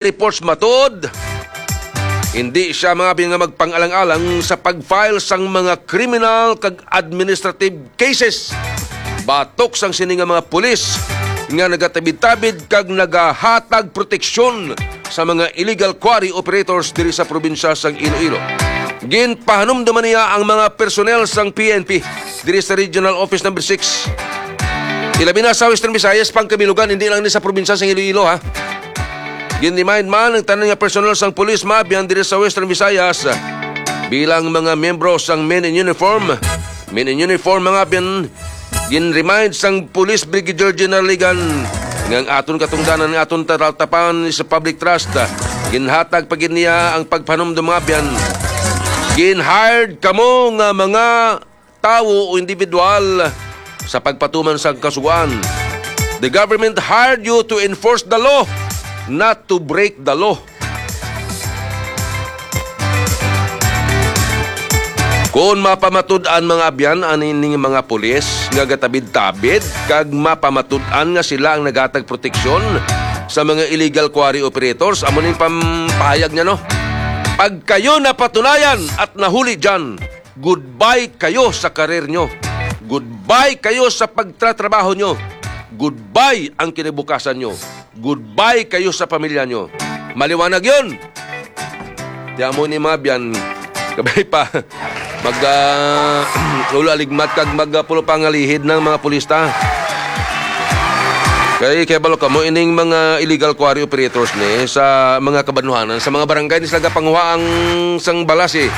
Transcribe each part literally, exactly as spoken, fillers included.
reports matuod, hindi siya mga abyan nga magpang-alang-alang sa pag-file sang mga criminal kag administrative cases batok sang sini nga mga pulis nga nagatabid-tabid kag nagahatag proteksyon sa mga illegal quarry operators diri sa probinsya sang Iloilo. Ginpahanumduman niya ang mga personnel sang P N P diri sa Regional Office Number Six, ilabi na sa Western Visayas, Pangkamilugan, hindi lang ni sa probinsya sang Iloilo, ha. Gin-remind man ang tanan nga personnel sang pulis, mga abyan, diri sa Western Visayas bilang mga miyembro sang Men in Uniform. Men in Uniform, mga abyan, gin-remind sang Police Brigadier General Ligan nga ang aton katungdanan, nga aton tataltapan sa public trust. Ginhatag pa gid niya ang pagpanumdum, mga abyan. Gin-hired kamo nga mga tawo o individual sa pagpatuman sang kasugoan. The government hired you to enforce the law, not to break the law. Kon mapamatud-an, mga abyan, ani ning mga pulis nga gatabid-tabid kag mapamatud-an nga sila ang nagatag proteksyon sa mga illegal quarry operators, amo ning pampahayag niya, no? Pag kayo napatunayan at nahuli dyan, goodbye kayo sa karir nyo. Goodbye kayo sa pagtratrabaho nyo. Goodbye ang kinabukasan nyo. Goodbye kayo sa pamilya nyo. Maliwanag yun. Di amo ni, mga abyan, kabay pa mag, ah, ulo aligmat kag magpulo pangalihid ng mga pulista. Kay, kay balo kamo, ining mga illegal quarry operators ni sa mga kabanwahanan, sa mga barangay ni sila gapanguha ang sang balas, eh.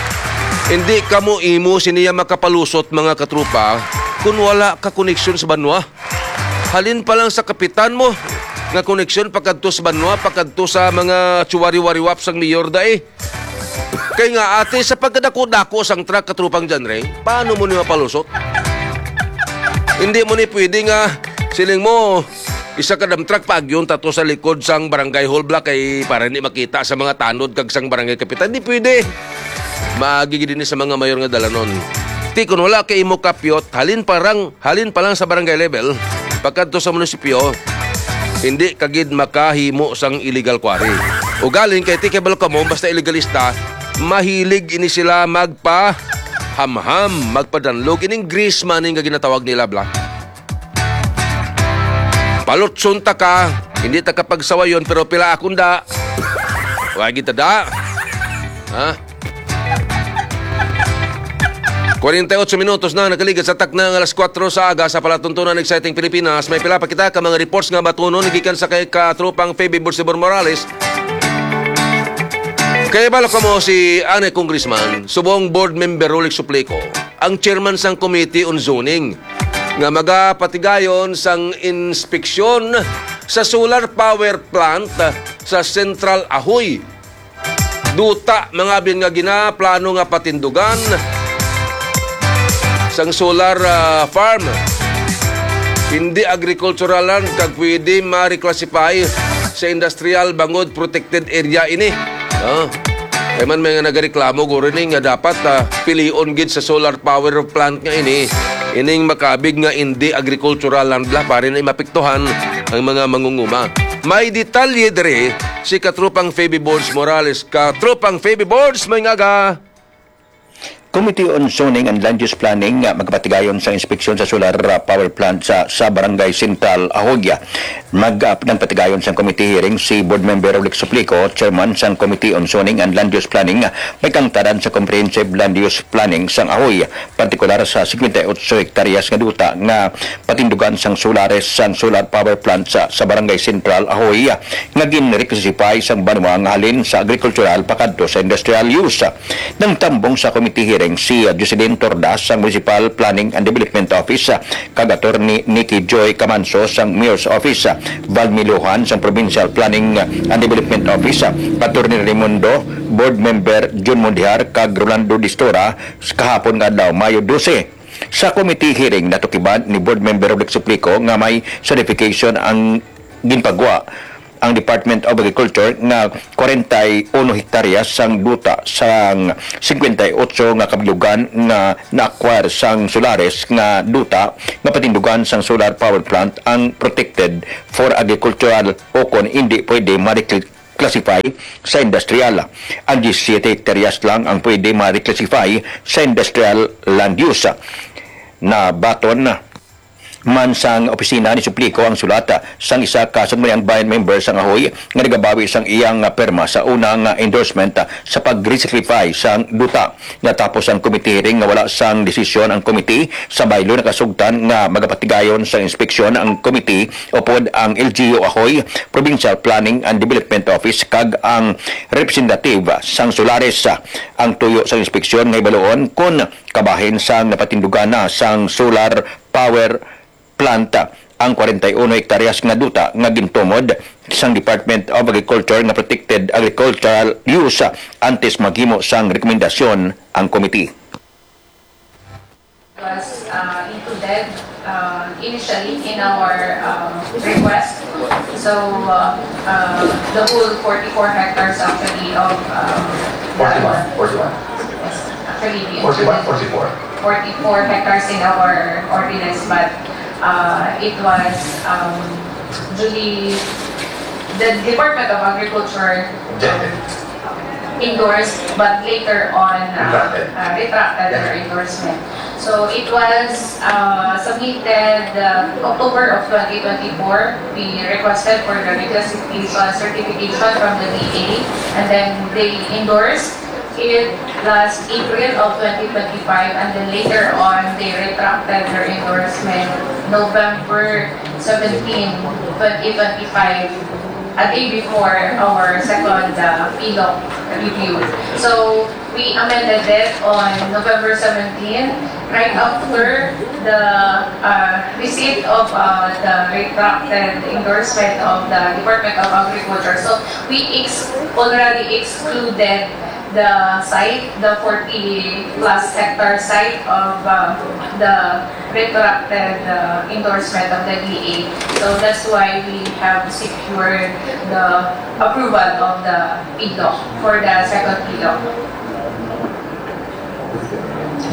Hindi kamo imo siniya makapalusot, mga katrupa, kung wala ka koneksyon sa banwa. Halin pa lang sa kapitan mo nga koneksyon pakadto sa banwa, pakadto sa mga chuwari-wariwap sang mayor da, eh. Kay nga, ate, sa pagkadako-dako sang truck, katrupang John Ray, paano mo ni mapalusot? Hindi mo ni pwede nga siling mo, isa ka dump truck paagyon tato sa likod sang barangay hall block kay para hindi makita sa mga tanod kag sang barangay kapitan. Hindi pwede. Maagi gid ini sa mga mayor nga dalanon. Ti, kung wala kay imo kapyot, halin parang, halin pa lang sa barangay level, pagkadto sa munisipyo, hindi ka gid makahimo sang illegal quarry. Ugaling kay ti kay balo kamo, basta illegalista, mahilig ini sila magpahamham, magpadanlog, ining grease money nga ginatawag nila, bla. Palutson ta ka, hindi ta ka pagsawayon, pero pila akong da. Wa gid ta da. Ha? Kwarenta y ocho minutos na nakaligad sa takna nga alas kuwatro sa aga sa palatuntunan, Exciting Pilipinas. May pila pa kita ka mga reports nga batunon gikan sa kay katropang Feby Bolsibor Morales. Kay balo kamo si anay Congressman, subong Board Member Rolex Suplico, ang chairman sang Committee on Zoning, nga magapatigayon sang inspeksyon sa solar power plant sa Central Ahoy. Duta, mga abyan, nga ginaplano nga patindugan sang solar, ah, farm. Hindi agricultural land kag pwede ma-reclassify sa industrial bangod protected area ini. Ah. Kay man may nga nagareklamo guro ni nga dapat, ah, pilion gid sa solar power plant nga ini ining makabig nga hindi agricultural land bla, para na mapiktuhan ang mga mangunguma. May detalye diri si Katropang Feby Boards Morales. Katropang Feby Boards, may ngaga. Committee on Zoning and Land Use Planning nga magpatigayon sa inspeksyon sa solar, uh, power plant sa, sa Barangay Central, Ahoy. Mag, uh, nagpatigayon sang committee hearing si Board Member Ulick Suplico, Chairman sang Committee on Zoning and Land Use Planning, may kangtaran sa Comprehensive Land Use Planning sang Ahoy, partikular sa singkwenta y otso hektaryas nga duta nga patindugan sang solares sang solar power plant sa, sa Barangay Central, Ahoy, nga ginreclassify sang banwa nga halin sa agrikultural pakadto sa industrial use. Nangtambong sa committee hearing si, uh, Jocelyn Tordas sang Municipal Planning and Development Office, uh, kag Attorney Nikki Joy Camanso sang Mayor's Office, uh, Val Miluhan sang Provincial Planning and Development Office, uh, Attorney Raimundo, Board Member Jun Mundihar, kag Rolando Distora, kahapon nga adlaw, Mayo dose. Sa committee hearing, natukiban ni Board Member Rodrick Suplico nga may certification ang ginpagwa ang Department of Agriculture nga kwarenta y uno hektaryas sang duta sang singkwenta y otso nga kabilugan nga na-acquire sang solares nga duta nga patindugan sang solar power plant ang protected for agricultural o kon indi pwede ma-recl-, classify sa industrial. Ang diyesisiete hektaryas lang ang pwede ma-reclassify sa industrial land use. Nabaton man sang opisina ni Suplico ang sulat sang isa ka Sangguniang Bayan member sang Ahoy nga nagabawi sang iyang perma sa unang endorsement sa pag-reclassify sang duta. Natapos ang committee hearing nga wala sang desisyon ang committee. Sa baylo, nakasugtan nga magapatigayon sa inspeksyon ang committee upod ang L G U Ahoy, Provincial Planning and Development Office, kag ang representative sang Solaris. Ang tuyo sang inspeksyon nga hibaluon kon kabahin sang napatindugan na sang solar power plant ang kwarenta y uno hektaryas nga duta nga gintumod sang Department of Agriculture nga protected agricultural use antes maghimo sang rekomendasyon ang committee. Was uh, included uh, initially in our uh, request. So uh, uh, the whole forty-four hectares actually of um, that Forty-one, one. Forty-one. Yes, actually, we Forty-one, included forty-four. forty-four hectares in our ordinance, but uh, it was um, duly the Department of Agriculture Objected. Endorsed, but later on uh, Retracted. Uh, retracted their Yeah. endorsement. So it was uh, submitted uh, October of twenty twenty-four. We requested for the reclassification certification from the D A, and then they endorsed it last April of twenty twenty-five, and then later on they retracted their endorsement November seventeen, twenty twenty-five, a day before our second uh, PILOC review. So we amended it on November seventeen, right after the uh, receipt of uh, the retracted endorsement of the Department of Agriculture. So we ex- already excluded the site, the forty plus hectare site of uh, the retracted uh, endorsement of the D A. So that's why we have secured the approval of the PILOC for the second PILOC.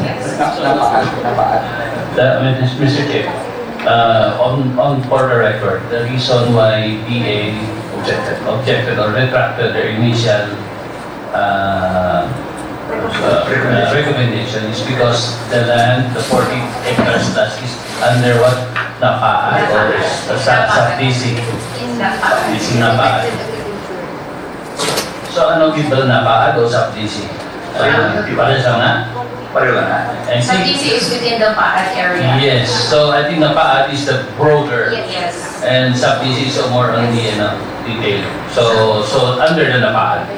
Yes. Na, napaat, napaat. The, Mister Chair, uh, on, on for the record, the reason why D A Objected. objected or retracted their initial uh, uh, recommendation is because the land, the forty hectares plus is under what? NAPAAD or sa, sa, sub-D C? NAPAAD. Is NAPAAD. So ano gid ba, NAPAAD o sub-D C? Uh, pares lang na? Pareho lang na. I think Sub-D C is within the PAAD area. Yes. So I think NAPAAD is the broader Yes. and sub-D C is more on the, you know, detail. So, so under the NAPAAD.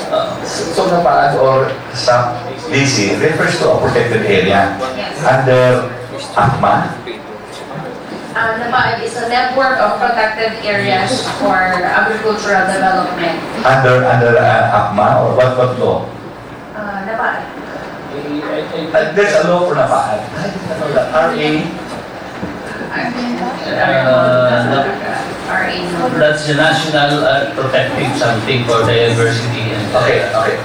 Uh, So, NAPAAD or sub-D C refers to a protected area Yes. under ACMA. Uh, NAPAAD is a network of protected areas for agricultural development. Under, under uh, ACMA or what, what law? Uh, NAPAAD. Uh, there's a law for NAPAAD. I did not know that. R A. Uh, no. R A no. That's the national uh, protective something for biodiversity and Okay, okay.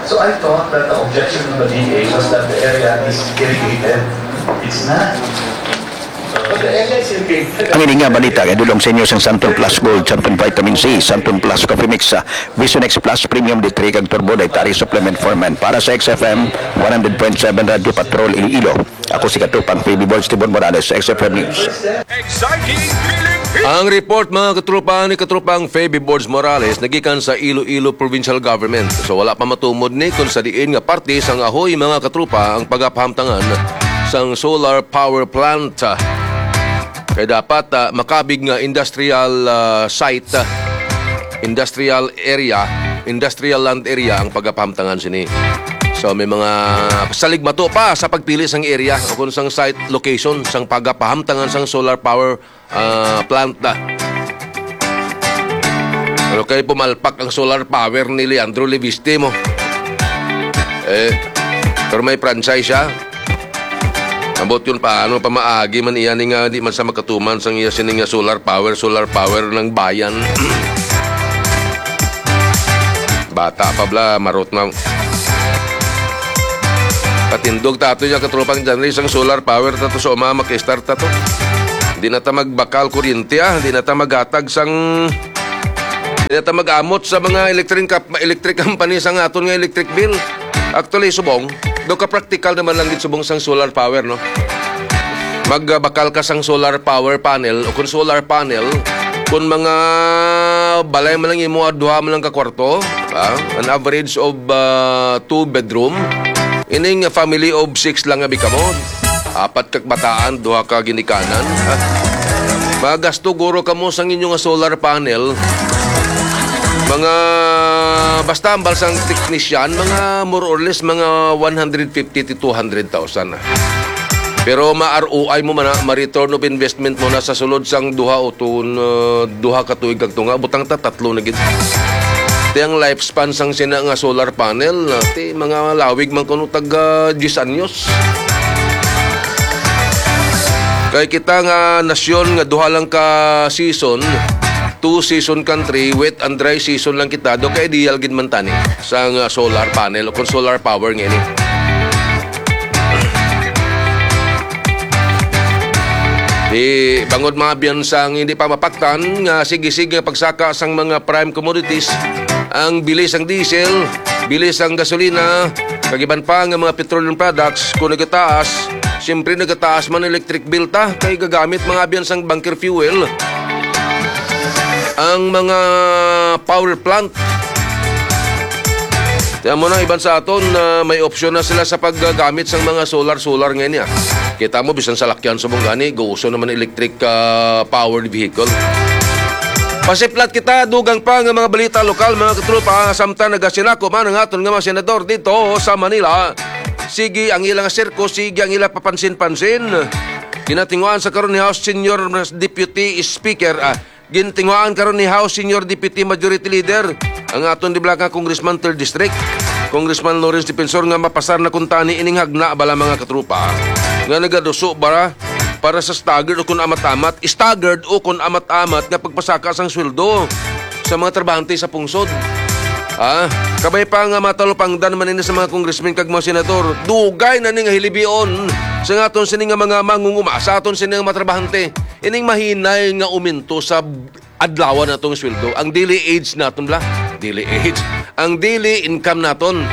So I thought that the objection of the D A was that the area is irrigated. It's not. But the area is irrigated. Ang ini nga balita kay dulong sa inyo sang Santon Plus Gold, Santon Vitamin C, Santon Plus Coffee Mix, ah, Vision X Plus Premium D three kag Turbo Dietary Supplement for Men. Para sa X F M one hundred point seven Radyo Patrol Iloilo, ako si Katupang P B Boy Steven Morales, X F M News. Exciting Philippines! Ang report, mga katropa, ni Katropang Feby Borges Morales nagikan sa Iloilo Provincial Government. So, wala pa matumod ni kung sa diin nga parte sang Ahoy, mga katropa, ang pagapahamtangan sang solar power plant. Kay dapat ah, makabig nga industrial ah, site, ah, industrial area, industrial land area ang pagapahamtangan sini. So, may mga saligmato pa sa pagpili sang area o kung sang site location sang pagapahamtangan sang solar power ah, plant na. Pero kay pumalpak ang solar power ni Leandro Leviste mo. Eh, pero may franchise siya. Ambot yun, paano pa maagi man iya ni nga di man sa makatuman sang iya sini nga solar power, solar power ng bayan. Bata pa bala, marot na. Patindog tato ya katropang Janry sang solar power tato sa uma, maki-start tato. Di na ta magbakal kuryente, ah. Di na ta maghatag sang Dili ta mag-amot sa mga electric kap-, electric company sa nga aton nga electric bill. Actually, subong, do ka practical naman lang gid subong sang solar power, no? Magbakal ka sang solar power panel o kung solar panel, kung mga balay man lang imo, duha man lang ka kwarto, ah, an average of, ah, two bedroom, ining family of six lang abi kamo. Apat ka bataan, duha ka ginikanan. Ah, magasto guro kamo sang inyo nga solar panel. Mga, basta ambal sang technician, mga more or less, mga one hundred fifty to two hundred thousand. Pero ma-R O I mo man na, ma-return of investment mo na sa sulod sang duha o tun-, uh, duha ka tuig kag tunga, butang ta tatlo na gid. Ti ang lifespan sang sina nga solar panel, uh, ti mga lawig man kuno tag, uh, diyes anyos. Kay kita nga nasyon nga duha lang ka season, two season country, wet and dry season lang kita, do ka ideal gid man tani sang, uh, solar panel o kung solar power nga ini. Di bangod mga biyansang hindi pa mapaktan nga sige-sige nga pagsaka sang mga prime commodities, ang bili sang diesel, bili sang gasolina, kag iban pa nga mga petroleum products, kung nagataas, siyempre nagataas man electric bill ta, kay gagamit mga biyansang bunker fuel ang mga power plant. Kaya mo na, iban sa aton, ah, may opsyon na sila sa paggamit sang mga solar-solar ngayon niya. Kita mo, bisan sa lakyan sa mong gani, gauso naman electric, ah, powered vehicle. Pasiplat kita, dugang pa nga mga balita lokal, mga katropa, samtang nagasinako man ang aton nga mga senador dito sa Manila. Sige ang ilang sirko, sige ang ilang papansin-pansin. Ginatinguan sa karon ni House Senior Deputy Speaker, ah, Gintinguhaan karon ni House Senior Deputy Majority Leader, ang aton di bala nga Congressman Third District, Congressman Lawrence Defensor, nga mapasar na kuntani ining hagna bala, mga katrupa, nga nagaduso ba para sa staggered o kun amat-amat, staggered o kun amat-amat nga pagpasaka sang sweldo sa mga trabahante sa pungsod. Ah, kabay pa nga matalupangdan man ini sa mga congressmen kag mga senador. Dugay na ni nga hilibion sa aton sini nga mga mangunguma, sa aton sini nga mga trabahante. Ining mahinay nga uminto sa adlawan natong sweldo, ang daily age naton bala, daily age, ang daily income naton,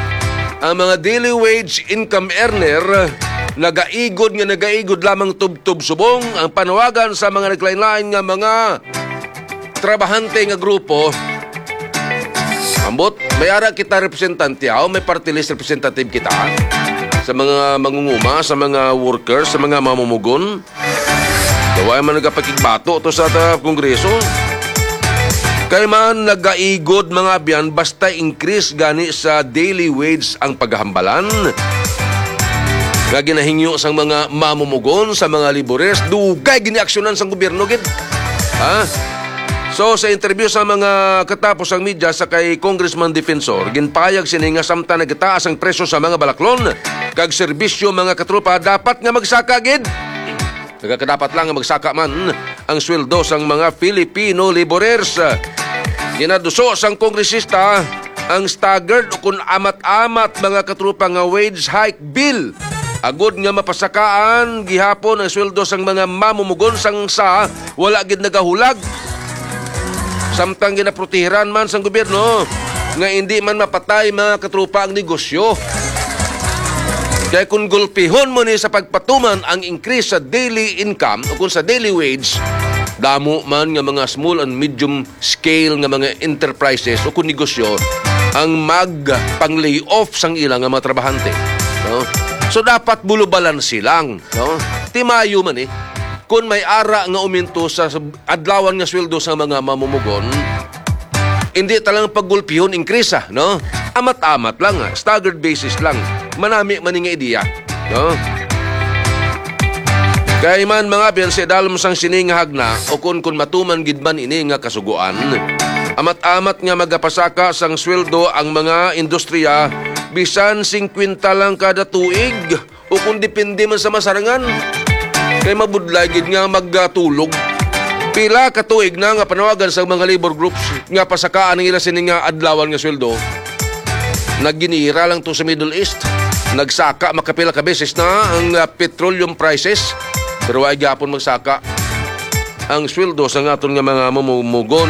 ang mga daily wage income earner, nagaigod nga nagaigod lamang tubtob subong ang panawagan sa mga naglain-lain nga mga trabahante nga grupo. Ambot, may ara kita representante, aw, may party list representative kita sa mga mangunguma, sa mga workers, sa mga mamumugon. Daw ay man nagapakigbato to sa ta-, Kongreso. Kay man nagaigod, mga abyan, basta increase gani sa daily wage ang paghambalan nga ginahingyo sang mga mamumugon, sa mga laborers, dugay giniaksyonan sang gobyerno gid. Ha? So, sa interview sa mga katapos ang media sa kay Congressman Defensor, ginpayag sini nga samtang nagtaas ang presyo sa mga balaklon kag serbisyo, mga katropa, dapat nga magsaka gid. Nagakadapat lang nga magsaka man ang sweldo sang mga Filipino laborers. Ginaduso sang kongresista ang staggered o kun amat-amat, mga katrupa, nga wage hike bill, agud nga mapasakaan gihapon ang sweldo sang mga mamumugon sang sa wala gid nagahulag. Samtang ginaprotehiran man sang gobyerno nga indi man mapatay, mga katrupa, ang negosyo. Kay kung gulpihon mo ni sa pagpatuman ang increase sa daily income o kung sa daily wage, damo man nga mga small and medium scale nga mga enterprises o kung negosyo ang magpang-layoff sang ila nga mga trabahante, no? So, dapat bulubalansi lang, no? Timayo man, eh, kung may ara nga uminto sa, sa adlawan nga sweldo sa mga mamumugon, hindi talang paggulpihon increase, ah, no? Amat-amat lang, ah, staggered basis lang. Manami man nga ideya, no? Kay man, mga biyanse, dalom sang sini nga hagna, o kun, kun matuman gid man ini nga kasugoan, amat-amat nga magapasaka sang sweldo ang mga industriya, bisan singkwenta lang kada tuig, o kung depende man sa masarangan. Kay mabudlay gid nga magtulog. Pila ka tuig na nga panawagan sa mga labor groups nga pasakaan ang ila sini nga adlawan nga sweldo. Nagginira lang to sa Middle East. Nagsaka makapila ka beses na ang, ah, petroleum prices. Pero wa gyapon magsaka ang sweldo sa aton nga mga mamumugon.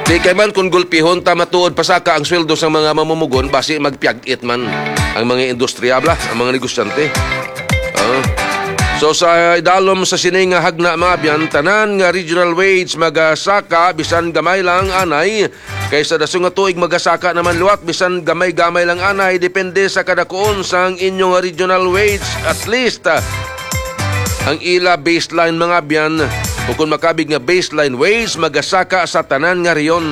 Di kay man kung gulpihon ta matuod pasaka ang sweldo sa mga mamumugon, basi magpiyag-it man ang mga industriya, bala, ang mga negosyante. Ah. So, sa idalom sa sini nga hagna, mga abyan, tanan nga regional wage magasaka, bisan gamay lang anay, kay sa daso nga tuig magasaka naman liwat, bisan gamay-gamay lang anay, depende sa kadakuon sang inyong regional wage. At least, ah, ang ila baseline, mga abyan, o kung makabig nga baseline wage, magasaka sa tanan nga rehiyon.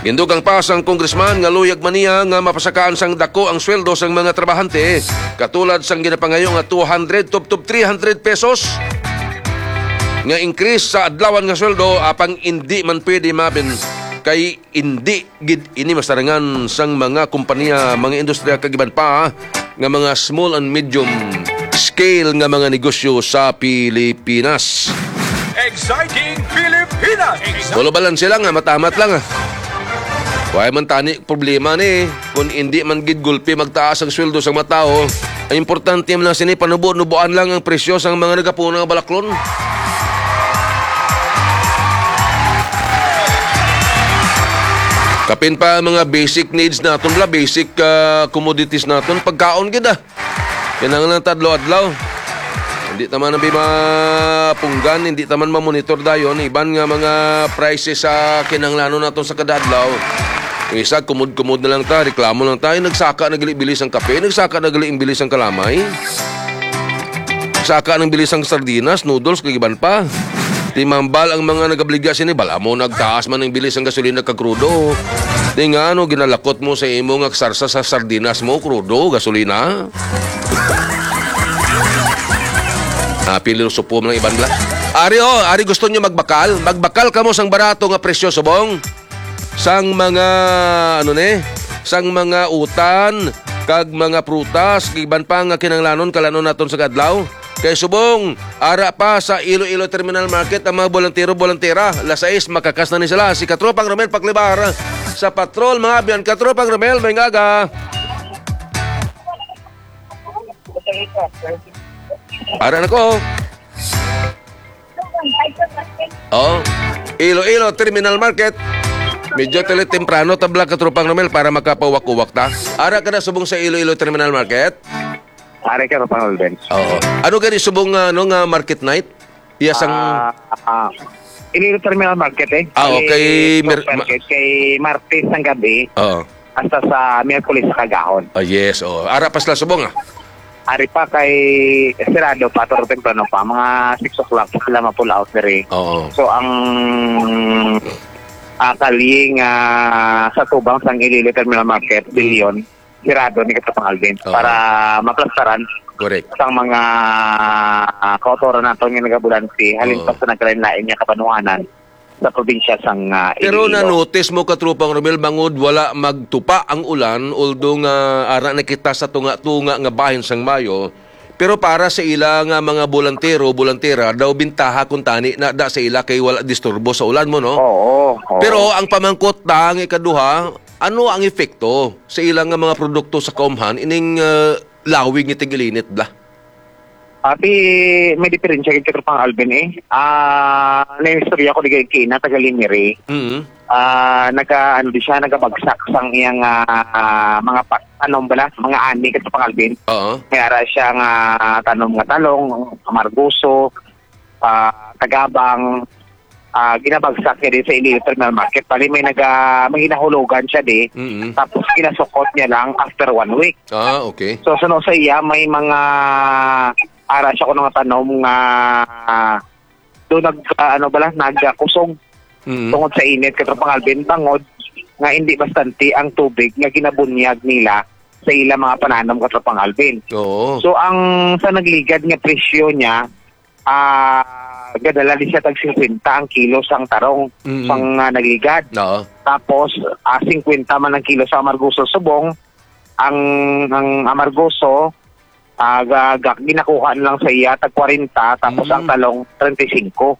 Gindugang pa sang congressman nga luyag man niya nga mapasakaan sang dako ang sweldo sang mga trabahante, katulad sang ginapangayo nga two hundred tubtob three hundred pesos nga increase sa adlawan nga sweldo, apang indi man pwede, mga abyan, kay indi gid ini masarangan sang mga kompanya, mga industriya, kag iban pa nga mga small and medium scale nga mga negosyo sa Pilipinas. Exciting Pilipinas! Exciting. Wala balanse lang, ah, matamat lang, ah. Wala man tani problema ni kung hindi man gid gulpi magtaas ang sweldo sa mga tao. Ang importante man lang sini, panubo-nubuan lang ang presyo sang mga nagapuna nga balaklon. Kapin pa ang mga basic needs naton, bala, basic, ah, commodities naton, pagkaon gid, ah. Kinahanglan ta adlaw-adlaw. Hindi ta man abi mapunggan, hindi ta man mamonitor dayon iban nga mga prices sa kinahanglanon naton sa kada adlaw. Ang isa, kumod-kumod na lang ta, reklamo lang ta, "Ay, nagsaka na gali bilis ang kape, nagsaka na gali ang bilis ang kalamay." Saka nang bilis ang sardinas, noodles, kag iban pa. Timambal ang mga nagabaligya sini, "Bala mo, nagtaas man ang bilis ang gasolina kag krudo." Di nga, ano, ginalakot mo sa imo nga sarsa sa sardinas mo, krudo, gasolina? Ah, pilosopo man ang iban, bala. Ari, oh, ari gusto nyo magbakal? Magbakal kamo sang barato nga presyo, subong? Sang mga, ano ni? Sang mga utan, kag mga prutas, kag iban pa nga kinahanglanon, kalanon naton sa kadlaw. Kay subong, ara pa sa Iloilo Terminal Market ang mga bolantero-bolantera. Alas sais, makakas na ni sila. Si Katropang Romel Paklibar sa Patrol, mga abyan. Katropang Romel, may ngaga. Ara na ko. Oh, Iloilo Terminal Market. Medyo tali temprano tabla, Katropang Romel, para makapauwak-uwak ta. Ara ka na subong sa Iloilo Terminal Market? Ari ka, Katropang Alvin. Oo. Ano gani subong nga, ano, nga market night? Iya sang Ah, ah, Iloilo Terminal Market, eh. Ah, Kay okay. Mer- Market, kay Martes ang gabi, Oo. hasta sa Miyerkules sa kagahon. Ah, yes, oh. Ara pa sila subong, ah. Ari pa kay sirado pa, pero temprano pa. Mga six o'clock pa sila ma-pull out diri. Oo. So, ang, ah, kalye nga sa tubang sang Iloilo Terminal Market, Mm. Bilyon, sirado ni Katropang Alvin Oo. para maplastaran Correct. sang mga, ah, kautoran naton nga nagabulanti, halin Oo. pa sa nagkalain-lain nga kabanwahanan sa probinsya sang, ah, Pero Iloilo. Na-notice mo, Katropang Romel, bangod wala magtupa ang ulan, although nga ara na kita sa tunga-tunga nga bahin sang Mayo, pero para sa ila nga mga bolantero, bolantera, daw bintaha kung tani na da sa ila kay wala disturbo sa ulan mo, no? Oo, oo. Pero ang pamangkot ta nga ikaduha, ano ang epekto sa ila nga mga produkto sa kaumhan ining, ah, lawig nga tig-ilinit, bala? Ati, may diferensya gid, Katropang Alvin, eh. Ah, naistorya ko di kay Kina, taga Liniri. Mm. Ah, naga, ano di siya, nagabagsak sang iyang, ah, mga pa-, ano bala, mga ani, Katropang Alvin. Oo. May ara siya nga tanom nga talong, amargoso, ah, tagabang, ah, ginabagsak niya din sa Iloilo Terminal Market. Bali, may naga-, may ginahulugan siya di. Mm. Tapos ginasukot niya lang after one week. Ah, okay. So, suno sa iya, may mga ara siya kuno nga tanom nga, ah, do nag, ah, ano bala, nagkusog Mm. tungod sa init, Katropang Alvin, bangod nga hindi bastante ang tubig nga ginabunyag nila sa ila mga pananom, Katropang Alvin. Oo. So, ang sa nagligad nga presyo niya, ah, gadala di siya tag singkwenta ang kilo sang tarong Mm. sang, ah, nagligad. Oo. Tapos, ah, singkwenta man ang kilo sa amargoso subong, ang, ang amargoso, ah, ga-, ga-, ginakuha na lang sa iya tag kwarenta, tapos Mm. ang talong, treinta y cinco.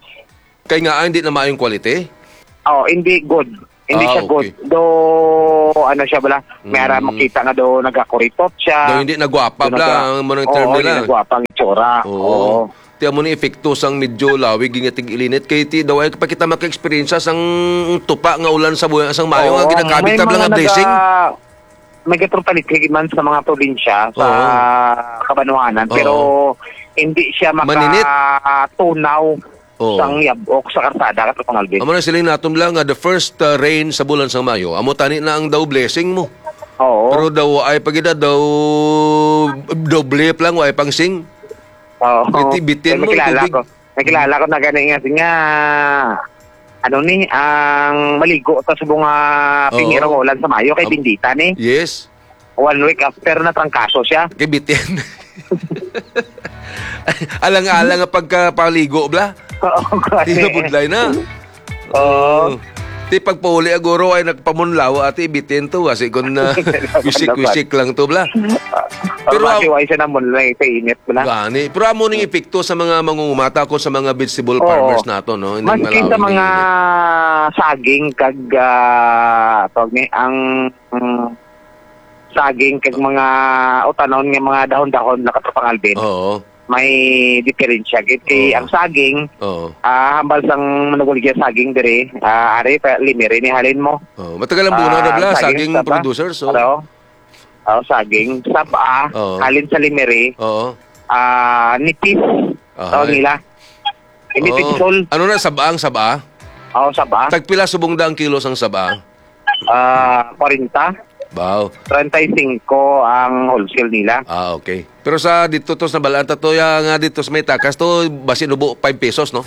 Kay nga, ah, hindi na maayong quality? Oh, hindi good. Hindi Ah, siya good. okay. Do, ano siya bala? May ara Mm. makita nga do nagakuritot siya. Do hindi nagwapa Do bala, naga-, ang mga oo, term hindi nila. nagwapa ang itsura. Oo. Oo. Ti amo ni epekto sang medyo lawig nga tig-ilinit kay ti daw ay pa kita maka-eksperyensya sang tupa nga ulan sa buwan sang Mayo nga Oo, ginakabit may ta lang mga nga blessing. naga-, may gatropalit man sa mga probinsya, sa Oo. kabanwanan, Oo. pero hindi siya Maninit. makatunaw Oo. sang yabok sa karsada, Katropang Alvin. Amo na siling naton lang nga the first, uh, rain sa bulan sang Mayo, amo tani na ang daw blessing mo. Oo. Pero daw ay pa gid daw doble pa lang, way pang sing. Oo. Iti bitin Pero mo, may kilala tubig. ko. May kilala ko na gani nga, nga, ano ni, ang maligo sa subong nga Oo. pingirong ulan sa Mayo kay Am-, Bendita ni. Yes. One week after na trangkaso siya. Kay bitin. Alang-alang nga pagkapaligo, bla. Oo, gani. Di na budlay na. Oo. Oo. Ti pagpauli, aguro ay nagpamunlaw, ati, bitin to, kasi kung, ah, wisik-wisik lang to, bla. Ah, Pero pero am- masiway siya na mo na sa init mo na. Gani. Pero amo ning epekto sa mga mangungumata ko sa mga vegetable Oo. farmers nato, no? Ining Maski sa malawig nga mga init. saging kag, ah, tawag ni, ang, mm, saging kag mga utanon nga mga dahon-dahon na, Katropang Alvin. Oo. May diferensya gid kay Oo. ang saging, Oo. ah, hambal sang manuguligya saging diri, ah, ari pa, limiri ni halin mo. Oo. Matagal ang bunaw na Ah, bla, saging, saging saba. producer, so. Ano? Oh, saging, saba, Oo. halin sa limiri, Oo. ah, nipis, Ahay. tawag nila. Nipis Oo. Sol. Ano na, saba ang saba? Oo, saba. Tagpila subong da ang kilo sang saba? Ah, kwarenta. Wow. Treinta y cinco ang wholesale nila. Ah, okay. Pero sa dito to, sa balaan ta to, ya nga dito sa may takas to, basi nubo five pesos, no?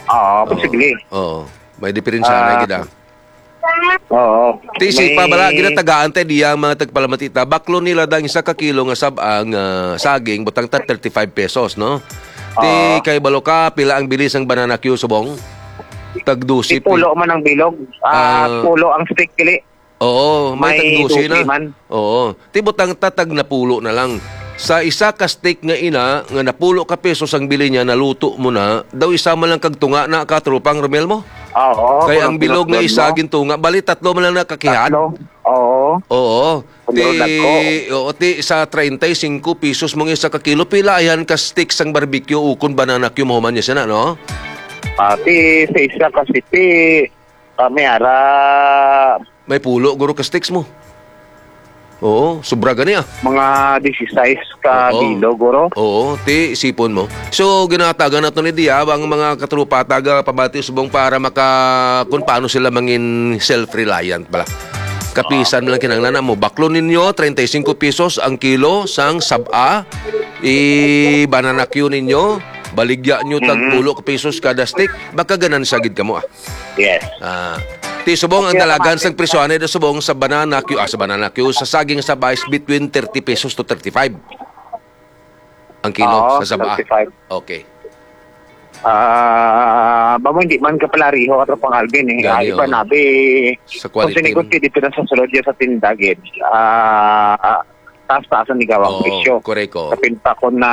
Oo, Oo. posible. Oo. May diferensya na Ah. gid, ah. Oo. Ti si May pa, bala, ginatagaan ta diya ang mga tagpalamatita. Baklo nila dang isa ka kilo nga sab-ang, ah, saging, butang ta thirty-five pesos, no? Ti Oo. kay balo ka, pila ang bili sang banana cue subong? Tag dose, Ti pulo man ang bilog. Ah, Ah. pulo ang stick, kili. Oo, may May tag dose na. dose man. Oo. Ti butang ta tag napulo na lang. Sa isa ka stick nga ina, nga napulo ka pesos ang bili niya, naluto mo na, daw isa man lang kag tunga na, Katropang Romel mo? Oo, Kay ang bilog nga isa gintunga, bali tatlo man lang nakakihad. Tatlo. Oo. Oo. Ti, oo, ti sa treinta y cinco pesos mong isa ka kilo, pila ayan ka stick sang barbecue ukon banana cue mahuman niya sana, no? Ah, ti sa isa ka stick, ah, may ara May pulo, guro, ka sticks mo. Oo, sobra gani, ah. Mga disisais ka Oo. kilo, guro. Oo, ti sipon mo. So, ginatagan nato ni Dia ang mga katrupa taga pabati subong para maka-, kung paano sila mangin self-reliant pala. Kapisan lang kinahanglan mo. Baklo ninyo, treinta y cinco pesos ang kilo sang saba. I-banana cue ninyo, baligya nyo tag Mm. pulo ka pesos kada stick, makaganansya gid kamo, ah. Yes. Ah, ti subong ang Okay, dalagan okay. sang presyo ani da subong sa banana cue, ah, sa banana cue, sa saging sa vice between thirty pesos to thirty-five ang kilo Oo, sa saba. thirty-five. Okay. Ah, ba mo, hindi man ka pala riho, Katropang Alvin, eh. Gani, Ay, pa oo. nabi, Sa kung quality. Sinigot dito na sa sulod yan sa tinda, gid. Ah, ah, taas-taas ang ligaw ang Oo, presyo. Correct, oo. Sa pinta ko na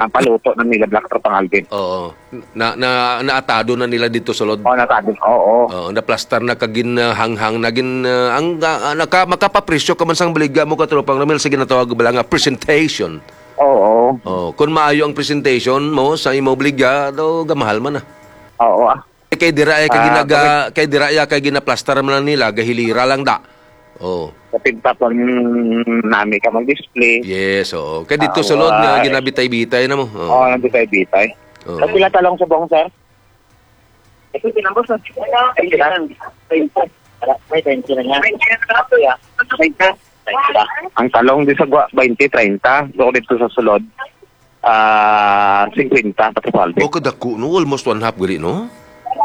paluto na nila, Black Katropang Alvin. Oo. Na, na, naatado na nila dito sulod. Oo, naatado. Oo. Oo, naplastar na kagin, ah, hanghang na gin, ah, ang, ah, naka-, makapapresyo ka man sang baligya mo, Katropang Romel, sa ginatawag bala nga presentation. Oo. Oh, kung maayo ang presentation mo sa imo baligya, daw gamahal man, ah. Oo, ah. Eh, kay dira ay kay Ah, ginaga-, bakit? Kay dira ay kay ginaplastar man lang nila, gahilira lang da. Oh. Kapinta kon nami ka mag-display. Yes, oo. Kay dito Ah, sulod nga why? ginabitay-bitay na mo. Oo. Oo, nabitay-bitay. Oo. Sa pila talong subong, sir? Ito, tinambos na. Ay, kailangan. Ay, ito. Wala, may twenty na niya. Ito, ya. Twenty. Twenty ba? Ang talong di sa gwa, twenty, treinta. Doon dito sa sulod, ah, fifty, Katropang Alvin. Oh, kadako, no? Almost one half gali, no?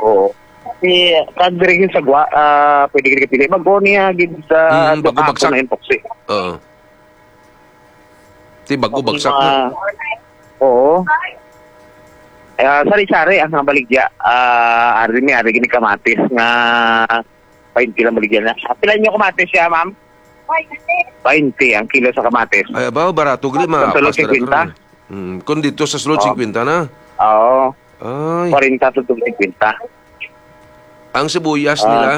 Oo. Si, kag diri sa gwa, ah, pwede gid pili. Bago niya, gid sa Mm, bago duha bagsak. Ako na yung poksi. Oo. Ti bago bagsak na. Ah, oo. Ah, sari-sari ang mga baligya. Ah, ari ni, ari gini kamatis nga twenty lang baligya na. Ah, pila niyo kamatis siya, ma'am? Twenty ang kilo sa kamatis. Ay, abaw, barato gali, Sa sulod, mapastar na fifty. Karon. Mm, kung dito sa sulod, Oo. fifty na. Oo. Ay. Kwarenta to fifty. Ang sibuyas Ah. nila?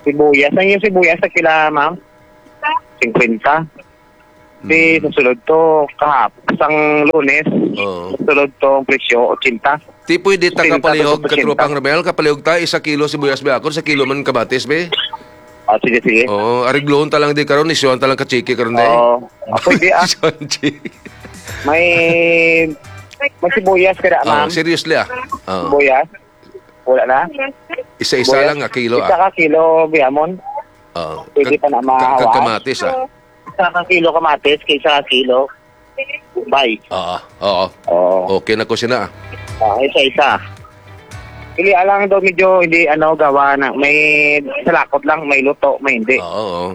Sibuyas. Ang yung sibuyas sa kila, ma'am? Fifty. Di sa sulod to, kahap-, sang Lunes, Oo. sulod to ang presyo, ochenta. Di pwede ta ochenta kapalihog, pesos, ochenta. Katropang Romel, kapalihog ta, isa kilo sibuyas ba ako, sa kilo man kamatis, be? Ah, sige, sige. Oo, ariglohon ta lang di karon, isyuhan ta lang ka chiki karon, day. Oo. Ah, pwede, ah. Isyuhan chiki. May, may sibuyas ka na, Oo, ma'am? Seriously, ah. Oo. Sibuyas? Wala na? Isa-isa Sibuyas? lang, ah, kilo, Isa ah. ka kilo, Biamon? Oo. Pwede Kag-, pa na kag-, mahawa? kag kamatis, ah. Isa ka kilo kamatis, kay isa ka kilo. Bay. Oo, oo. Oo. Okay na ko sina. Ah, isa-isa. Pili lang daw medyo hindi, ano, gawa na. May salakot lang, may luto, may hindi. Oo, oo.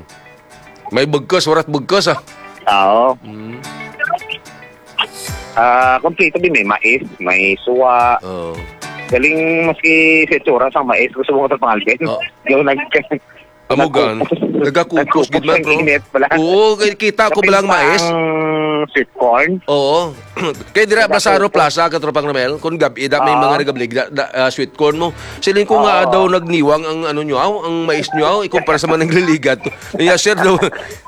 May bugkos, warat bugkos, ah. Oo. Mm. Ah, kompleto din. May mais, may suwa. Oo. Galing maski sa itsura sa mais, gusto mo ko sa pangalbin. Oo. Yung nag-, Amo gan, nagkukos, nagkukos gid man, bro. Ang init pala. Oo, kay kita ko Kapin pala ang pa mais. ang sweet corn. Oo. Kay dira, Tapos Blasaro ito. Plaza, Katropang Romel, kung gab-, ida may Oo. mga nagabligda, da, ah, sweet corn mo. Siling ko nga Oo. daw nagniwang ang ano nyo, aw, ang mais nyo, aw, ikumpara sa mga nagliligat. Iya, sir, daw,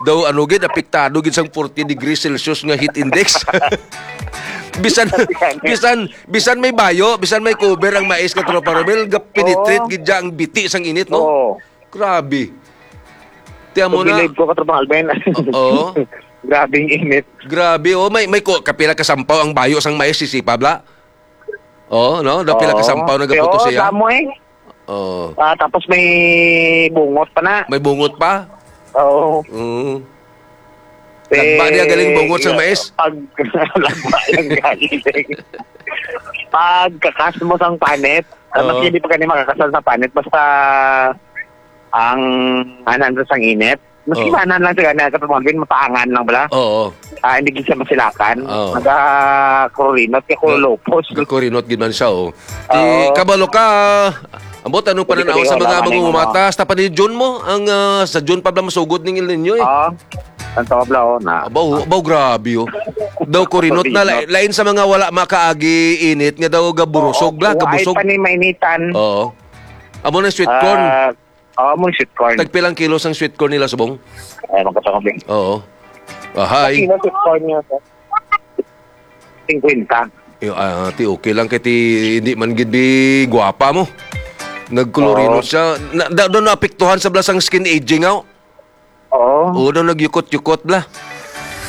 daw ano gid, apektado gid sang forty degrees Celsius nga heat index. Bisan, bisan, bisan may bayo, bisan may cover ang mais, Katropang Romel, ga-penetrate Oo. gid dyan ang biti sang init, no? Oo. Grabe. Tiyan mo na. Pag-believe ko, Katropang Alvin. Oo. Grabing init. Grabe, oh. May, may ko, kapila ka sampaw ang bayo sang mais, sisipa, bla? Oh, no? Daw pila ka Oo. sampaw nagaputos Pero siya? damo eh. Oo. Ah, tapos may bungot pa na. May bungot pa? Oo. Mm. Eh, Lagba niya galing bungot sa yeah, mais? pag lagba lang galing. Pagkakas mo sang panit, ah, Oo. maski hindi pa gani makakasal sa panit, basta ang anan sa sang init. Maski Oo. manan lang sa gani, Katropang Alvin, mapaangan lang bala. Oo. Ah, hindi gid siya masilakan. Oo. Nagakurinot, kaya Ga-, kulupos. gakurinot gid man siya, oh. Ti, Oo. kabalo ka, ambot, ano Hindi pananaw ko sa mga ano, mangungumata? ano. Hasta pa ni June mo, ang, ah, sa June pa bala masugod ning El Niño, eh. Ah, ang tawag bala, oh, na. Abaw, abaw, grabe, oh. Daw kurinot na, Kurinot. la-, lain sa mga wala makaagi init nga daw gaburusog, bla, Wa-, wa-, gabusog. pa ni mainitan. Oo. Amo na sweet corn. Ah, Oo, mo sweet corn. Tagpilang kilo sang sweet corn nila subong? Ay, magkatungod, eh. Oo. Ahay. Sa kilo sweet corn niya, sir? Singkwenta. Yo, ah, ti okay lang kay ti hindi man gid bi gwapa mo. Nagkulorino Oo. siya. Na, da, daw naapektuhan sa bala sang skin aging, aw. Oo. Oo, daw nagyukot-yukot bala.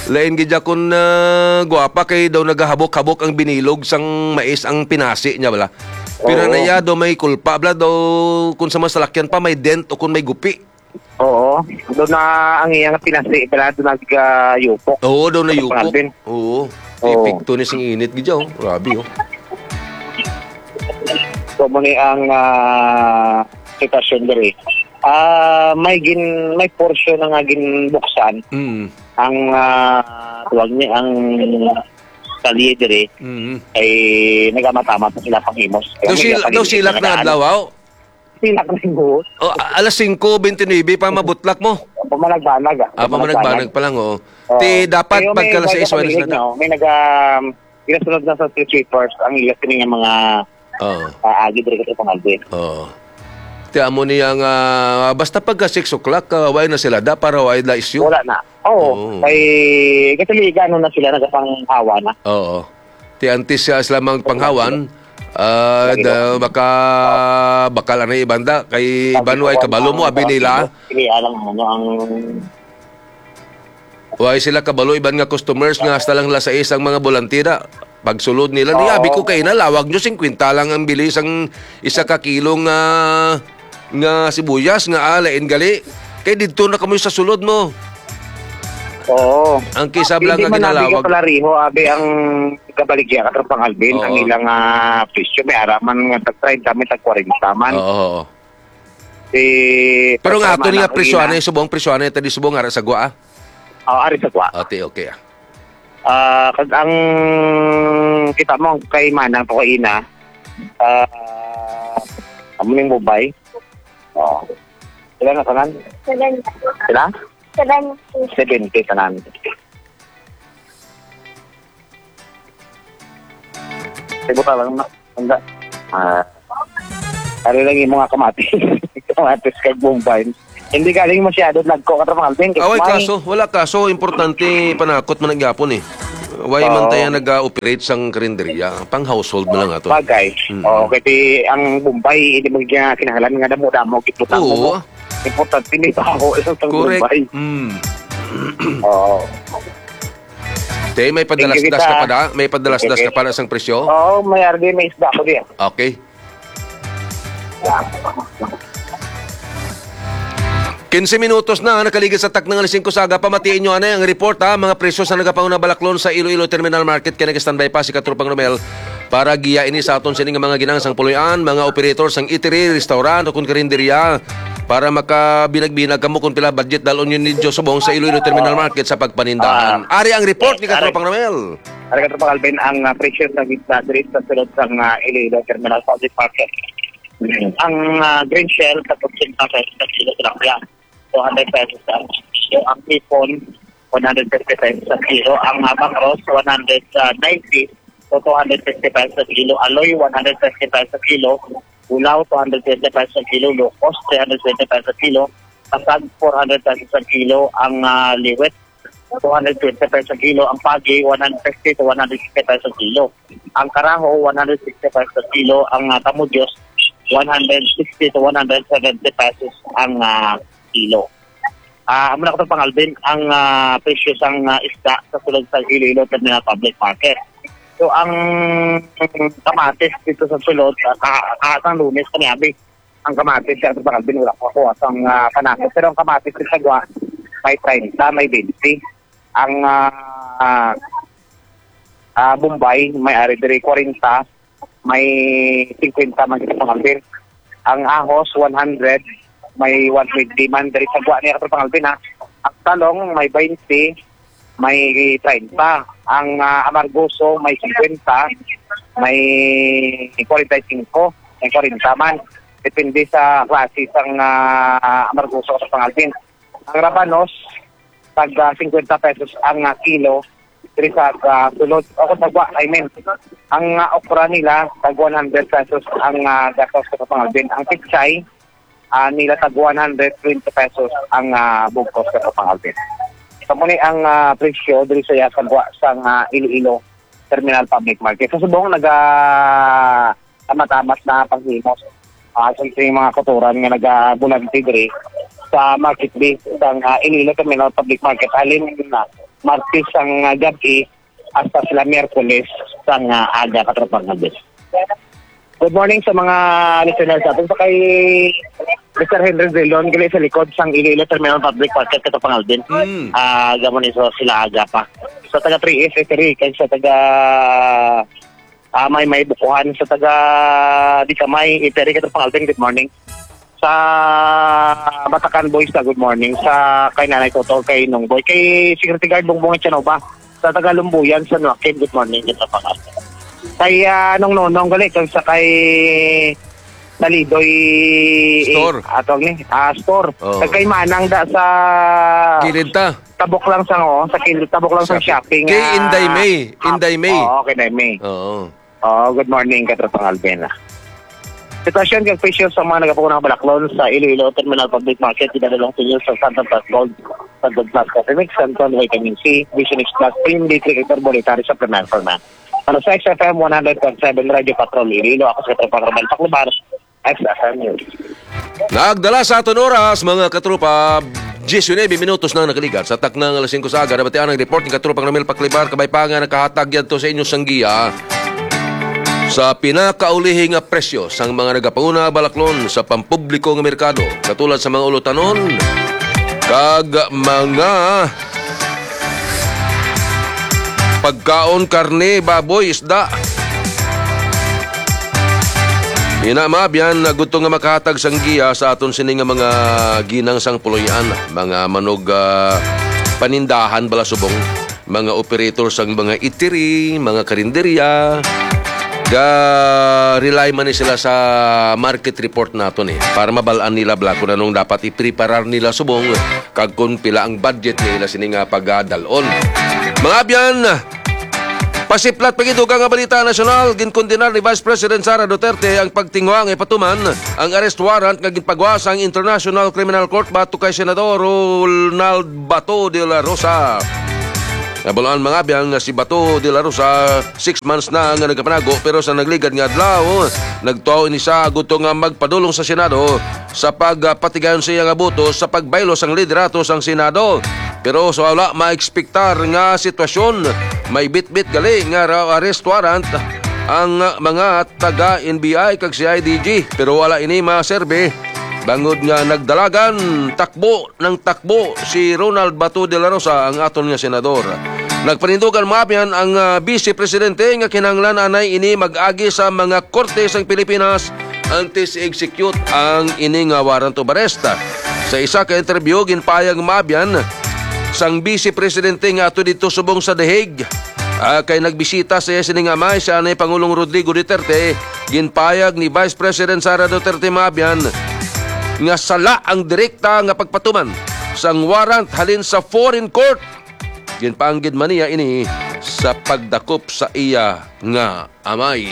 Lain gid ya kun, ah, gwapa kay daw nagahabok-habok ang binilog sang mais ang pinasi niya bala. Pero Oo. na iya daw may kulpa bala daw kun sa masalakyan pa may dent o kun may gupi. Oo. Doon na ang iyang pinasi bala, doon nag, ah, yupok. Oo, daw na Sa yupok. pangalbin. Oo. Oo. Epekto ni sing init gid ya, oh. Grabe, oh. So, mo ni ang, ah, sitwasyon diri. Ah, may gin-, may portion na nga ginbuksan Mm. ang, ah, tawag ni, ang kalye diri Mm. ay nagamatamad na sila panghimos. Kaya Daw may sila, daw kalye sila na nagdaan. adlaw, aw? Sila ka nang buhos. Oh, a-, alas singko bente nuebe pa mabutlak mo? Pamanagbanag, ah. Ah, pamanagbanag Pamanagbanag. pa lang, oh. Oo. Ti dapat Pero may pagka alas sais, nagkakalilig wala na. na, oh. May naga-, ginasunod na sa street sweepers ang ilas kini nga mga, Oo. ah, agi diri sa Pangalbi. Oo. Ti amo niya nga, basta pagka six o'clock, ah, wala na sila da para wala na issue. Wala na. Oo. Oo. Kay, kasi ano na sila, nagapanghawa na. Oo. Ti antes siya sila mang panghawan, ah, Lagi da, po. baka, baka lang na ibanda. Kay Sabi iban ko, way kabalo mo, ang abi nila. Hindi alam ano ang Way sila kabalo, iban nga customers nga hasta lang las sais ang mga bolantira. Pagsulod nila, ni Oo. abi ko kay na, lawag nyo, singkwenta lang ang bili sang isa ka kilo nga, nga sibuyas, nga, ah, lain gali. Kay didto na kamo sa sulod mo. Oo. Ang kisab lang Hindi nga man abi ginalawag. ka pala, Riho, abi ang kabaligya ka, Tropang Alvin, Oo. ang ilang, ah, presyo, may araman nga tag treinta, may tag kwarenta man. Oo, oo. Si Pero nga Tropang ato ni nga Manang presyo, Ina. ano yung subong presyo, ano yung tadi subong, ara sa gwa, ah? Oo, ari sa gwa. Ate, okay, ah. Ah, kag ang kita mo kay Manang to kay Ina, ah, amo ning Mobay. Oh. Sila na tanan? Seven. Sila? Seven. Seventy tanan. Ibuta lang na. Anda. Ah. Ari lang yung mga kamatis. Kamatis kag Bombay. Hindi galing masyado nagko, Katropang Alvin, kay Away may kaso, wala kaso, importante panakot man ang gihapon eh. Why man Oo. tayo nag-ooperate sang karinderya? Pang household na lang ato. Bagay. Mm. Oo, kay ang Bombay, hindi mo niya kinahanglan nga damo-damo, gibutang mo. Oo. Importante may baho lang sa Correct. Bombay. Mm. Oo. Te, may padalasdas Thank you, ka kita. pa da? May padalasdas Okay. ka pa na sang presyo? Oo, may ardi, may isda ko diyan. Okay. Quince minutos na nakaligid sa takna nga alas singko sa aga. Pamatiin nyo anay ang report, ha. Mga presyo sa nagapanguna balaklon sa Iloilo Terminal Market. Kaya nag-standby pa si Katropang Romel para giya ini sa aton sini nga mga ginang sang puloy-an, mga operator sang eatery, restaurant, o kung karinderya, para makabinag-binag kamo kung pila budget dalon yun ninyo subong sa Iloilo Terminal Market sa pagpanindahan. Ah. Ari ang report ni Yes, ari. Katropang Romel. Talaga, Tropang Alvin, ang, ah, presyo sa isda diri sa sulod sang, ah, Iloilo Terminal Public Market. Ang, ah, green shell, katorse pesos sa kilo, tilapia, two hundred pesos sa kilo. Ang hipon, one hundred fifty pesos sa kilo. Ang, ah, bangros, one hundred ninety to two hundred fifty pesos sa kilo. Aloy, one hundred fifty pesos sa kilo. Ulaw, two hundred fifty pesos sa kilo. Locos, three hundred twenty pesos sa kilo. Pasag, four hundred pesos sa kilo. Ang, ah, liwet, two hundred twenty pesos ang kilo. Ang pagi, one hundred fifty to one hundred sixty pesos ang kilo. Ang karaho, one hundred sixty pesos ang kilo. Ang, ah, kamudyos, one hundred sixty to one hundred seventy pesos ang, ah, kilo. Ah, amo na, Katropang Alvin, ang, ah, presyo sang, ah, isda sa sulod sa Iloilo Terminal Public Market. So, ang kamatis dito sa sulod, ah, ka-, ka-, sang Lunes, kaniabi, ang kamatis, Katropang Alvin, wala ko kuha sang, ah, panakot. Pero ang kamatis sa Sagwa, may treinta, may twenty. Ang, ah, ah, Bombay, may ari diri kwarenta, may singkwenta man, Katropang Alvin. Ang ahos, one hundred, may one twenty man diri sa Sagwa niya, Katropang Alvin, ha. Ang talong, may twenty, may treinta. Ang, ah, amargoso, may singkwenta, may kwarenta y singko, may kwarenta man. Depende sa klase sang, ah, amargoso, Katropang Alvin. Ang rabanos, tag, ah, singkwenta pesos ang, ah, kilo diri sa, ah, sulod, o kung Sagwa, I mean. Ang, ah, okra nila, tag one hundred pesos ang, ah, gatos, Katropang Alvin. Ang pechay, ah, nila tag one hundred twenty pesos ang, ah, bugkos, Katropang Alvin. So, muna ang, ah, presyo diri sa Sagwa sang, ah, Iloilo Terminal Public Market. Sa subong, naga-, tamat-tamat na panghimos. Ah, sa mga kautoran nga nagabulante diri sa market day sang, ah, Iloilo Terminal Public Market, halin na Martes sang, ah, gab-i hasta sila Miyerkules sang, ah, aga, Katropang Alvin. Good morning sa mga listeners natin. Sa kay Mister Henry Drilon, gali sa likod sang Iloilo Terminal Public Market, Katropang Alvin. Mm. Ah, gamon iso sila aga pa. Sa taga three S, three, kay sa taga Ah, may, may bukuhan sa taga Dicamay, Iperi, Katropang Alvin, good morning. Sa Batacan Boys, ah, good morning. Sa kay Nanay Toto, kay Nong Boy, kay Security Guard Bongbong Echanova, sa taga Lumbuyan, San Joaquin, good morning, Katropang Alvin. Kay, ah, Nong Nonong, gali, kag sa kay Talidoy, Store. eh, atong ni, ah, store. Oo. Kag kay Manang da sa Kilid ta. Tabok lang sa, oh, sa kil-, tabok lang sa Shopping. shopping, Kay ah, Inday May. Inday May. Oo, kay Inday May. Oo. Oo, good morning, Katropang Alvin, ah. Sitwasyon kag presyo sa mga nagapauna nga balaklon sa Iloilo Terminal Public Market, ginadalong sa inyo sa Santon Plus Gold, Santon Plus Coffee Mix, Santon Vitamin C, Vision X Plus, Cream D three, Ector Bolitary, Supplement for Man. Para sa X F M one hundred point seven Radyo Patrol Iloilo, ako si Katropang Romel Paclubar, X F M News. Nagdala sa aton oras, mga katropa, diyes nuebe minutos na nakaligat sa takna nga alas singko sa aga. Nabatian ang report ni Katropang Romel Paclibar, kabay pa nga nakahatag yadto sa inyo sang giya sa pinakaulihi nga presyo sang mga nagapanguna balaklon sa pampubliko nga merkado, katulad sa mga ulutanon kag mga pagkaon, karne, baboy, isda. Ina, maabyan, gusto nga makahatag sang giya sa aton sini nga mga ginang sang puloy-an, mga manog, ah, panindahan bala subong, mga operator sang mga eatery, mga karinderya, ga rely man ni sila sa market report naton eh, para mabal-an nila bala kung anong dapat ipreparar nila subong kag kung pila ang budget nila sini nga pagadalon. Mga abyan, Pasiplat pa gid, dugang nga balita nasyonal, ginkondenar ni Vice President Sara Duterte ang pagtinguha nga ipatuman ang arrest warrant nga ginpagwa sang International Criminal Court batok kay Senador Ronald Bato de la Rosa. Nabaluan, mga abyan, nga si Bato de la Rosa, six months na nga nagapanago, pero sa nagligad nga adlaw, nagtuo ini sa agud to nga magpadulong sa Senado sa pagpatigayon sa iya nga boto sa pagbaylo sang liderato sang Senado. Pero sa wala maekspektar nga sitwasyon, may bitbit gali nga ra-, arrest warrant ang mga taga N B I kag C I D G, pero wala ini maserbi bangod nga nagdalagan takbo ng takbo si Ronald Bato de la Rosa, ang aton nga senador. Nagpanindugan, mga abyan, ang, ah, Vice Presidente nga kinahanglan anay ini mag-agi sa mga korte sang Pilipinas antes i-execute ang ini nga warrant of arrest. Sa isa ka interview, ginpahayag, mga abyan, sang Vice Presidente nga ato dito subong sa The Hague, ah, kay nagbisita sa iya sining amay, si Anay Pangulong Rodrigo Duterte, ginpahayag ni Vice President Sara Duterte, mga abyan, nga sala ang direkta nga pagpatuman sang warrant halin sa foreign court. Ginpaanggid man niya ini sa pagdakop sa iya nga amay.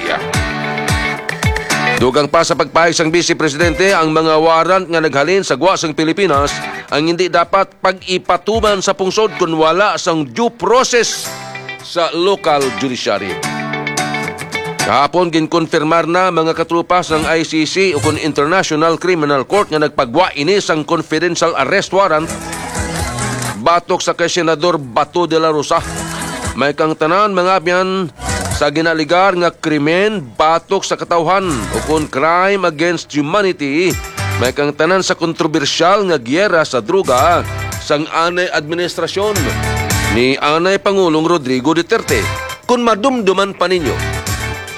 Dugang pa sa pagpahayag sang Vice Presidente, ang mga warrant nga naghalin sa gwa sang Pilipinas ang hindi dapat pag-ipatuman sa pungsod kun wala sang due process sa local judiciary. Kahapon, ginkonfirmar na, mga katropa, sang I C C o kun International Criminal Court nga nagpagwa ini sang confidential arrest warrant batok sa kay Senador Bato de la Rosa. May kang tanan, mga abyan, sa ginaligar nga krimen batok sa katawhan o kun crime against humanity, may kang tanan sa kontrobersyal nga giyera sa droga sang anay administrasyon ni anay Pangulong Rodrigo Duterte. Kung madumduman pa ninyo,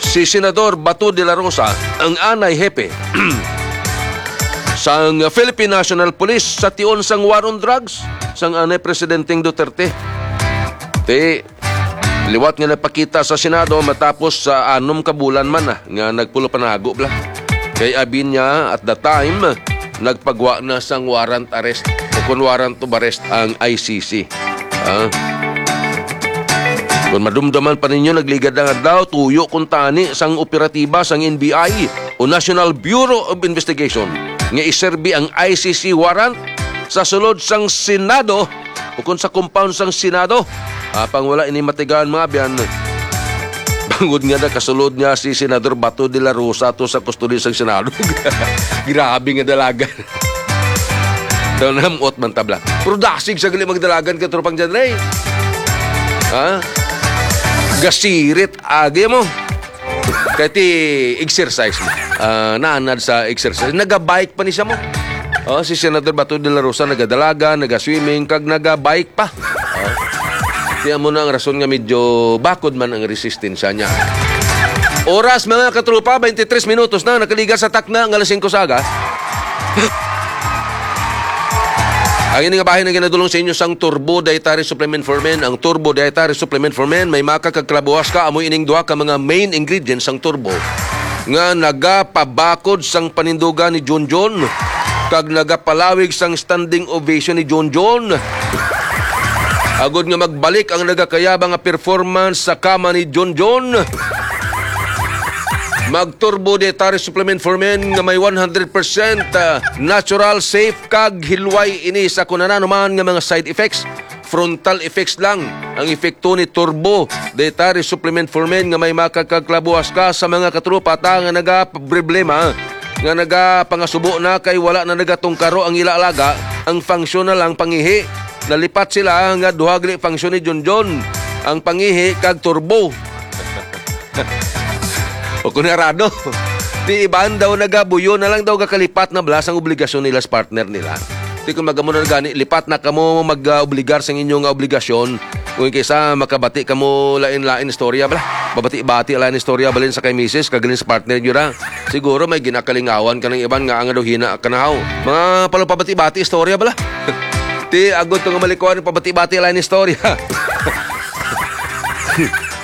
si Senador Bato de la Rosa ang anay hepe sang Philippine National Police sa tion sang war on drugs sang anay Presidenteng Duterte. Ti, liwat nga nagpakita sa Senado matapos sa anom ka bulan man na nga nagpulopanago bala. Kay abi niya, at the time, nagpagwa na sang warrant arrest o kun warrant of arrest ang I C C. Ah. Kung madumduman pa ninyo, nagligad ang adlaw, tuyo kuntani sang operatiba sang N B I o National Bureau of Investigation nga iserbi ang I C C warrant sa sulod sang Senado o kung sa compound sang Senado. Apang wala ini matigaan, mga abyan. Bangod nga nakasulod nga si Senador Bato de la Rosa to sa kustodiya sang Senado. Grabe nga dalagan. Daw namuot man tabla. Pero dasig sa gali magdalagan ka, Tropang John Ray. Ha? Gasirit agi mo. Kay ti exercise mo. Ah, naanad sa exercise. Nagabike pa ni siya mo. Oh, si Senador Bato de la Rosa nagadalagan, nagaswimming, kag nagabike pa. Oh. Kaya mo na ang rason nga medyo bakod man ang resistensya niya. Oras, mga katropa, twenty-three minutos na nakaliga sa takna nga alas singko sa aga. Ang ini nga bahin ang ginadulong sa inyo sang Turbo Dietary Supplement for Men. Ang Turbo Dietary Supplement for Men may maka kag kalabuas ka, amo ining duha ka mga main ingredients sang Turbo nga nagapabakod sang panindugan ni Junjun kag nagapalawig sang standing ovation ni Junjun. Agod nga magbalik ang nagakayaba nga performance sa kama ni Junjun, mag Turbo Dietary Supplement for Men nga may one hundred percent, ah, natural, safe, kag hilway ini sa kun ano man nga mga side effects. Frontal effects lang ang epekto ni Turbo Dietary Supplement for Men nga may maka kag kalabuas ka sa mga katropa ta nga nagaproblema, nga nagapangasubo na kay wala na nagatungkaro ang ila alaga, ang function na lang pangihi. Nalipat sila nga duha gali function ni Junjun, ang pangihi kag turbo. O kung narado, ti iban daw nagabuyo na lang daw gakalipat na bala sang obligasyon nila sa partner nila. Ti kung magamo na gani, lipat na kamo mag-obligar sang inyo nga obligasyon. Kung kaysa makabati kamo lain-lain istorya bala. Mabati-bati lain istorya balin sa kay misis, kagalin sa partner nyo ra. Siguro may ginakalingawan ka ng iban nga ang daw hina ka na haw. Mga palo pabati-bati istorya bala. Ti, agot ko nga malikuan, pabati-bati lain istorya.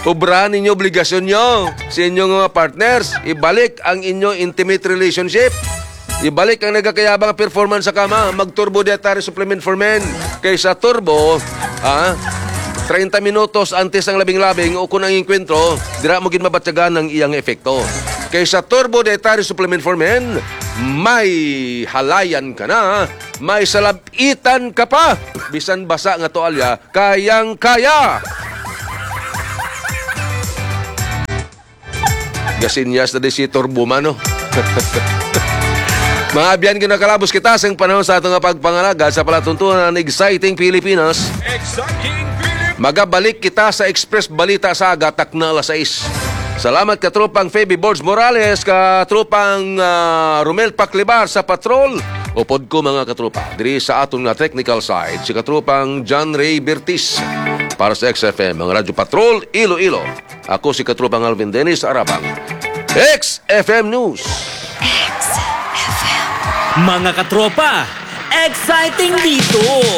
Obra ninyo obligasyon nyo sa inyong mga partners. Ibalik ang inyo intimate relationship. Ibalik ang nagakayabang performance sa kama. Mag Turbo Dietary Supplement for Men. Kaysa Turbo, ha? treinta minutos antes ang labing-labing o kung ang engkwentro, dira mo gid mabatyagan ang iyang epekto. Kay sa Turbo Dietary Supplement for Men, may halayan ka na, may salab-itan ka pa. Bisan basa nga tuwalya, kayang-kaya. Gasinyas na di si Turbo man, no? Mga abyan, ginakalabos kita sa panahon sa ato nga pagpangalaga sa palatuntunan ng Exciting Pilipinas. Exciting Pilipinas. Magabalik kita sa Express Balita sa aga, takna alas sais. Salamat ka tropang Feby Borges Morales, ka tropang, ah, Romel Paclibar sa patrol. Upod ko, mga katropa, diri sa aton nga technical side, si katropang John Ray Bertis. Para sa X F M, ang Radyo Patrol, Iloilo. Ako si katropang Alvin Dennis Arabang. X F M News. Mga katropa, exciting dito!